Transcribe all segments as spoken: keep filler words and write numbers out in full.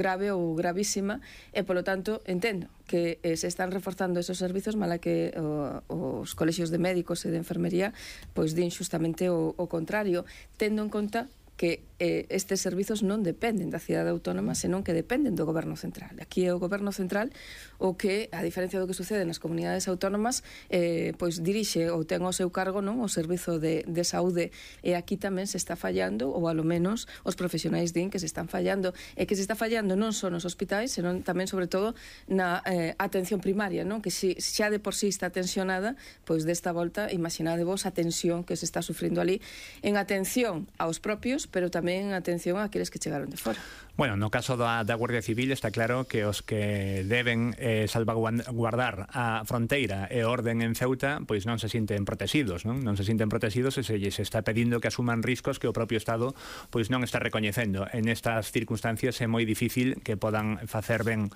grave ou gravísima e, polo tanto, entendo que eh, se están reforzando esos servizos, mala que o, os colexios de médicos e de enfermería pois din xustamente o, o contrario, tendo en conta que eh, estes servizos non dependen da cidade autónoma, senón que dependen do goberno central. Aquí é o goberno central o que, a diferencia do que sucede nas comunidades autónomas, eh, pois dirixe ou ten ao seu cargo, non, o servizo de, de saúde, e aquí tamén se está fallando, ou alo menos os profesionais din que se están fallando, e que se está fallando non só nos hospitais, senón tamén, sobre todo, na eh, atención primaria, non, que si, xa de por sí está tensionada, pois desta volta, imaginadevos a tensión que se está sufrindo ali en atención aos propios, pero tamén atención a aqueles que chegaron de fora. Bueno, no caso da, da Guardia Civil está claro que os que deben eh, salvaguardar a fronteira e orden en Ceuta pois non se sinten protegidos, non? Non se sinten protegidos e se se está pedindo que asuman riscos que o propio Estado pois non está recoñecendo. En estas circunstancias é moi difícil que podan facer ben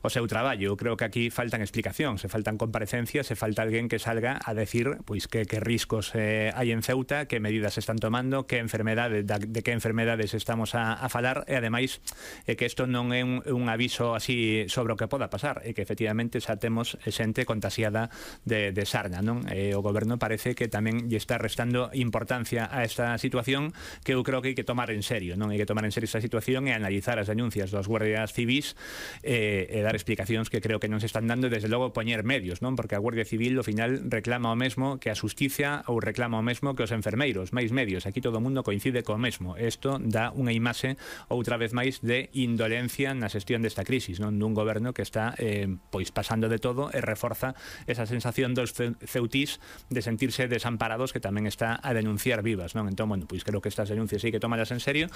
o seu traballo. Eu creo que aquí faltan explicacións, se faltan comparecencias, se falta alguén que salga a decir pois que, que riscos eh, hai en Ceuta, que medidas se están tomando, que enfermedade, de, de que enfermedades estamos a, a falar, e ademais é que isto non é un, un aviso así sobre o que poda pasar, é que efectivamente xa temos xente contaxiada de, de sarna, non? E o goberno parece que tamén lle está restando importancia a esta situación, que eu creo que hai que tomar en serio, non? Hai que tomar en serio esta situación e analizar as denuncias dos guardias civis e, e dar explicacións que creo que non se están dando, e desde logo poñer medios, non? Porque a Guardia Civil ao final reclama o mesmo que a Xusticia ou reclama o mesmo que os enfermeiros, máis medios. Aquí todo o mundo coincide co mesmo. Isto dá unha imaxe outra vez máis de indolencia na xestión desta crisis, non, dun goberno que está eh, pois pasando de todo e reforza esa sensación dos ceutís de sentirse desamparados, que tamén está a denunciar vivas, non? Entón, bueno, pois creo que estas denuncias hai que tomarlas en serio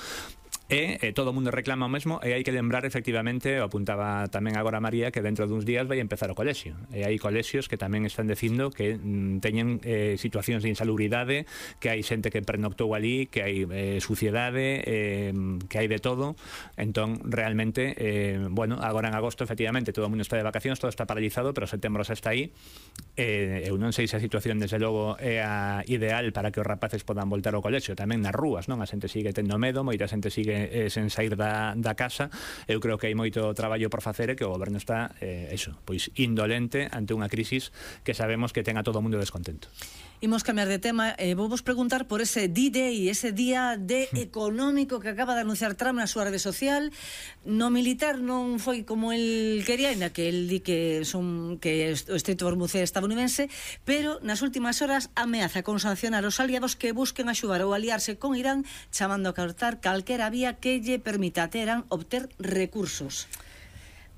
e eh, todo o mundo reclama o mesmo, e hai que lembrar efectivamente, o apuntaba tamén agora María, que dentro duns días vai empezar o colexio, e hai colexios que tamén están dicindo que mm, teñen eh, situacións de insalubridade, que hai xente que pernoctou ali, que hai eh, suciedade, eh, que hai de todo. Entón, realmente, eh, bueno, agora en agosto, efectivamente, todo o mundo está de vacacións, todo está paralizado, pero setembro xa está aí. Eh, eu non sei se a situación, desde logo, é a ideal para que os rapaces podan voltar ao colexio, tamén nas rúas, non? A xente sigue tendo medo, moita xente sigue eh, sen sair da, da casa. Eu creo que hai moito traballo por facer e que o goberno está, eh, eso, pois indolente ante unha crisis que sabemos que ten a todo o mundo descontento. Imos cambiar de tema, eh, vou vos preguntar por ese D-Day, ese día D económico que acaba de anunciar Trump na súa rede social. No militar non foi como el quería, ainda que el di que son que o Estreito de Hormuz é estadounidense, pero nas últimas horas ameaza con sancionar os aliados que busquen axudar ou aliarse con Irán, chamando a cortar calquera vía que lle permita a Teherán obter recursos.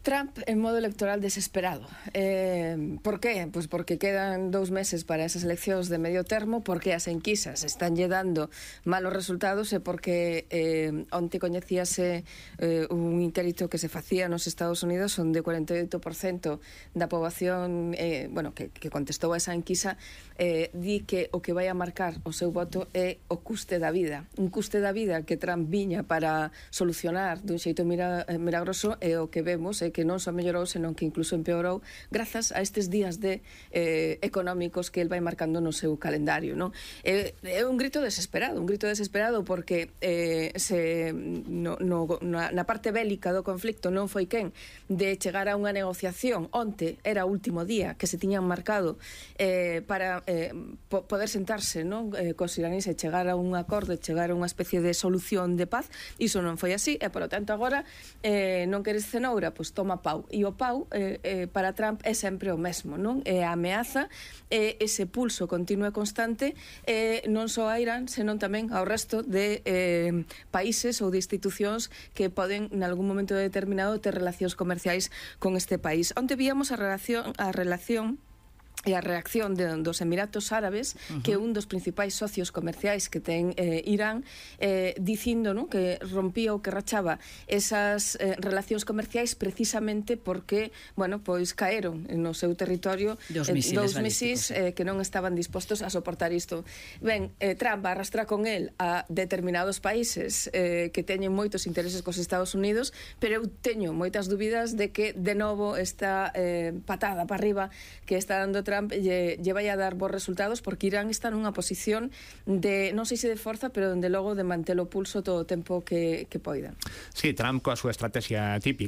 Trump en modo electoral desesperado. Eh, por qué? Pues porque quedan dous meses para esas eleccións de medio termo, porque as enquisas están lle dando malos resultados e porque eh, onte coñecíase eh, un inquérito que se facía nos Estados Unidos onde o cuarenta e oito por cento da poboación eh, bueno, que, que contestou a esa enquisa eh, di que o que vai a marcar o seu voto é o custe da vida. Un custe da vida que Trump viña para solucionar dun xeito mira, milagroso, e o que vemos é que que non só mellorou, senón que incluso empeorou grazas a estes días de eh, económicos que el vai marcando no seu calendario, non? É, é un grito desesperado, un grito desesperado porque eh, se, no, no, na, na parte bélica do conflicto non foi quen de chegar a unha negociación. Onte era o último día que se tiñan marcado eh, para eh, po, poder sentarse, non? Eh, cos iraníes e chegar a un acordo, chegar a unha especie de solución de paz. Iso non foi así e, polo tanto, agora eh, non queres cenoura, pois toma pau, e o pau eh, eh, para Trump é sempre o mesmo, non? É a ameaza, é ese pulso continuo e constante, eh, non só a Irán, senón tamén ao resto de eh, países ou de institucións que poden, en algún momento determinado, ter relacións comerciais con este país. Onte víamos a relación, a relación e a reacción de, dos Emiratos Árabes, uh-huh. que é un dos principais socios comerciais que ten eh, Irán, eh, dicindo, ¿no?, que rompía ou que rachaba esas eh, relacións comerciais precisamente porque, bueno, pois caeron no seu territorio dos eh, dous misís eh, que non estaban dispostos a soportar isto. Ben, eh, Trump arrastra con el a determinados países eh, que teñen moitos intereses cos Estados Unidos, pero eu teño moitas dúbidas de que de novo esta eh, patada para arriba que está dando Trump lle, lle vai a dar bons resultados, porque Irán está nunha posición de, non sei se de forza, pero dende logo de manter o pulso todo o tempo que, que poida. Sí, Trump coa súa estrategia típica